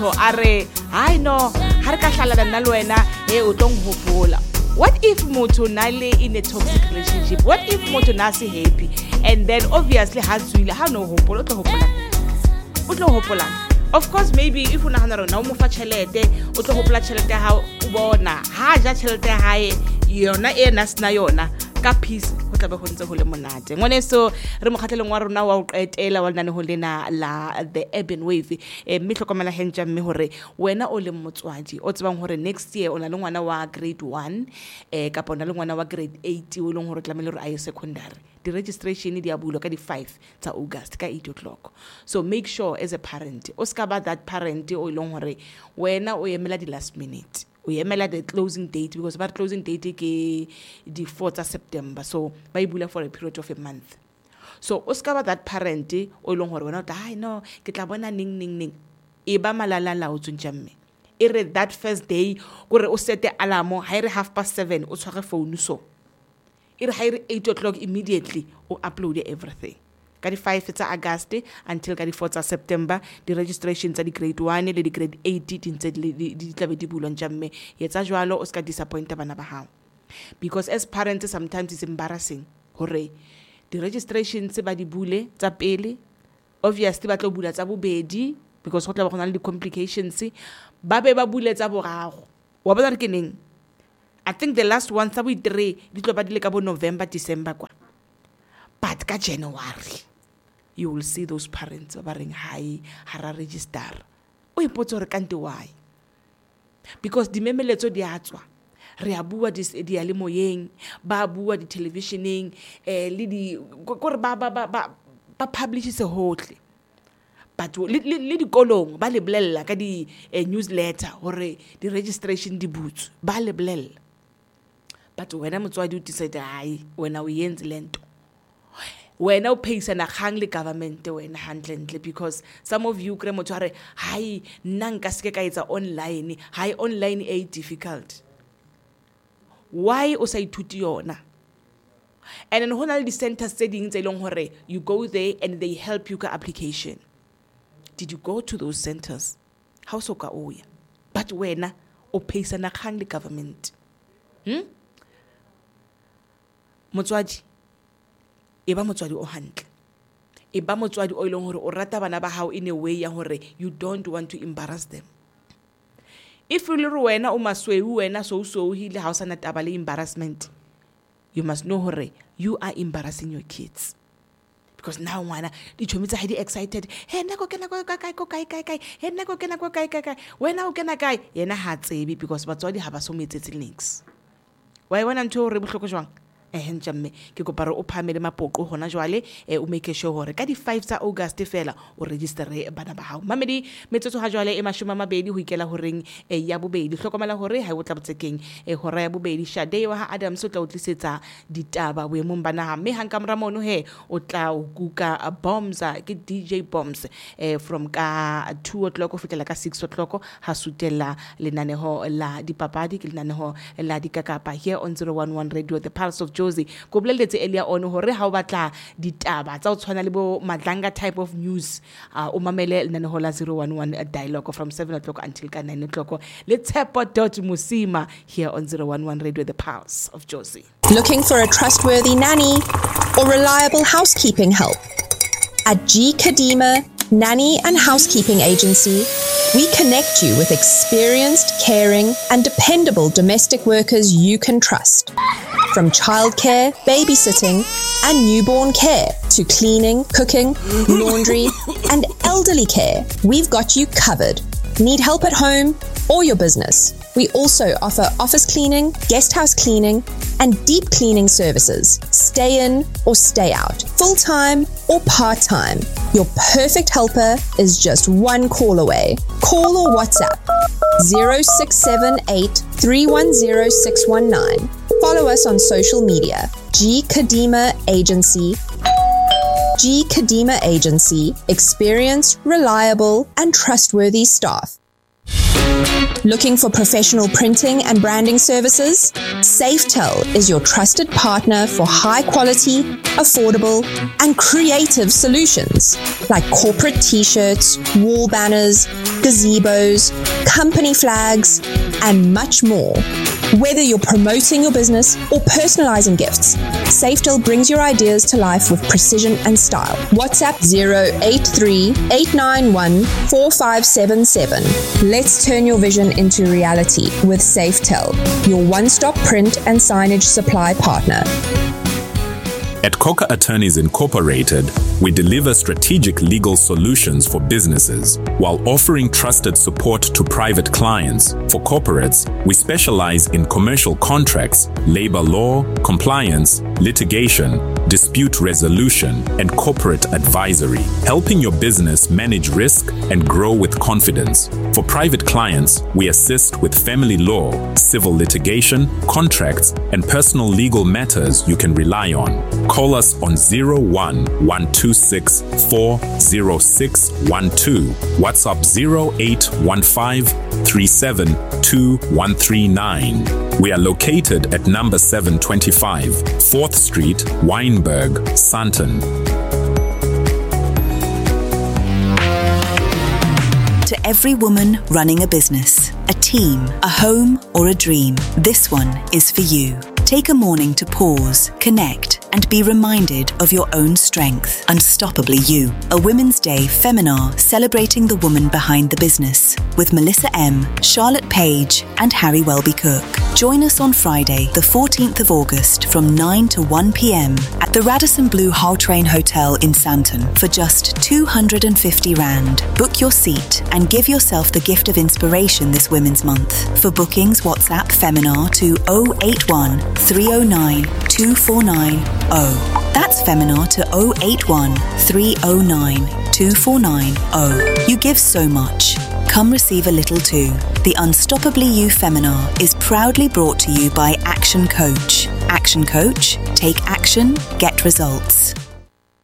motho a re hai no ha re ka hlalana nna le wena e o tlo nghopola. What if motho na le in a toxic relationship? What if motho na se happy and then obviously ha tswile, ha no hopola, o tlo hopola, o tlo hopolang? Of course, maybe if o nagana rona o mo fa tšhelete, o tlo gopola tšhelete ya gago, o bona ha ja tšhelete ya gae yona e na sena yona ka peace, go tlabe go ntse go le monate. Ngwaneso, re mokgatlhelong wa rona wa go qetela wa lenanego lena la The Urban Wave. Mme hlokomela hentša mme gore wena o leng motswadi o tsebang gore next year o na le ngwana wa grade 1 kapa o na le ngwana wa grade 8 o e leng gore o tlamehile gore a ye secondary, di-registration di a bulwa ka di-5 tsa August ka 8 o'clock. So make sure as a parent o ska ba that parent o e leng gore wena o emela di-last minute, o emela the closing date, because ba re closing date ke di-4 tsa September, so ba e bula for a period of a month. So o ska ba that parent o e leng gore wena o tla, "Hai no, ke tla bona neng neng neng." E ba malalala o tsontša mme e re that first day kore o sete alarm, ha e re 7:30 o tshware phone, so e re ha e re 8 o'clock immediately o upload everything. Ka di-5 tsa August until ka di-4 tsa September, di-registration tsa di-grade 1 le di-grade 8 di ntse di tlabe di bulwa ntša mme. Etsa jwalo, o ska disappointa bana ba hao, because as parents sometimes it's embarrassing hore di-registration tse ba di bule tsa pele, obviously ba tlo bula tsa bobedi because go tla ba go na le di-complications, ba be ba bule tsa boraro. Wa bona re ke neng? I think the last one tsa bo-three di tlo ba di le ka bo November, December kwa, but ka January you will see those parents ba ba reng, "Hai, ha ra register." O ipotse gore kante why, because dimemeletso di a tswa, re a bua diyalemoyeng, ba bua di-televisioneng, le di kore ba publishise hohle, but le dikolong ba le bolella ka di-newsletter hore di-registration di butswe, ba le bolella, but wena motswadi o decide, hayi, wena o yenze lento, wena o pheisana kgang le government wena hantlentle. Because some of you kry motho a re, "Hai, nna nka seke ka etsa online, hai, online e difficult." Why o sa ithuti yona? And then ho na le di-centers tse ding tse leng hore you go there and they help you ka application. Did you go to those centers? Ha o so ka o ya, but wena o pheisana kgang le government. Motswadi, e ba motswadi o hantle, e ba motswadi o e leng hore o rata bana ba hao in a way ya hore you don't want to embarrass them. If le re wena o masweu, wena so o sohile, ha o sana taba le embarrassment, you must know hore you are embarrassing your kids, because now ngwana ditšhomi tsa hae di excited, "He, nna ko kena ko kae, ko kae, kae, kae? He, nna ko kena ko kae, kae, kae?" Wena o kena kae? Yena ha tsebe because batswadi ha ba so mo etsetse niks. Wa e bona ntho eo re bohloko jwang? Ehe, ntja mme, ke kopa re o phamele mapoqo hona jwale, o make sure hore ka di-5 tsa August fela o registere bana ba hao. Mamedi, metsotso ha jwale e 20 ho ikela horeng ya bobedi. Hlokomela hore ha o tla botsekeng hora ya bobedi, Shade wa ha Adams o tla o tlisetsa ditaba boemong ba naha, mme hang ka mora mono he o tla o kuka Bombs, ke DJ Bombs, from ka 2 o'clock ho fihlela ka 6 o'clock, ha sutella lenaneho la dipapadi, ke lenaneho la dikakapa here on 011 Radio, The Pulse of Jozi. Ko boleletse earlier on hore ha o batla ditaba tsa ho tshwana le bo Madlanga type of news, o mamele lenaneho la 011 Dialogue from 7 o'clock until ka 9 o'clock le Tshepo dot Mosima here on 011 Radio, The Pulse of Jozi. Looking for a trustworthy nanny or reliable housekeeping help? At G Kadima Nanny and Housekeeping Agency, we connect you with experienced, caring, and dependable domestic workers you can trust. From childcare, babysitting, and newborn care to cleaning, cooking, laundry, and elderly care, we've got you covered. Need help at home or your business? We also offer office cleaning, guest house cleaning, and deep cleaning services. Stay in or stay out, full time or part time. Your perfect helper is just one call away. Call or WhatsApp 0678 310 619. Follow us on social media. G Kadima Agency. G Kadima Agency. Experienced, reliable, and trustworthy staff. Looking for professional printing and branding services? Safetel is your trusted partner for high quality, affordable, and creative solutions like corporate t shirts, wall banners, gazebos, company flags, and much more. Whether you're promoting your business or personalizing gifts, Safetel brings your ideas to life with precision and style. WhatsApp 083 891 4577. Let's turn your vision into reality with Safetel, your one stop print and signage supply partner. At Coca Attorneys Incorporated, we deliver strategic legal solutions for businesses while offering trusted support to private clients. For corporates, we specialize in commercial contracts, labor law, compliance, litigation, dispute resolution, and corporate advisory, helping your business manage risk and grow with confidence. For private clients, we assist with family law, civil litigation, contracts, and personal legal matters you can rely on. Call us on 01 126 40612, WhatsApp 0815 372139. We are located at number 725, 4th Street, Wynberg, Sandton. To every woman running a business, a team, a home, or a dream, this one is for you. Take a morning to pause, connect, and be reminded of your own strength. Unstoppably You, a Women's Day Feminar celebrating the woman behind the business with Melissa M., Charlotte Page, and Harry Welby Cook. Join us on Friday, the 14th of August from 9 to 1 p.m. at the Radisson Blu Gautrain Hotel in Sandton for just 250 Rand. Book your seat and give yourself the gift of inspiration this Women's Month. For bookings, WhatsApp Feminar to 081 309 2490. That's Feminar to 081 309 2490. You give so much. Come receive a little too. The Unstoppably You Feminar is proudly brought to you by Action Coach. Action Coach, take action, get results.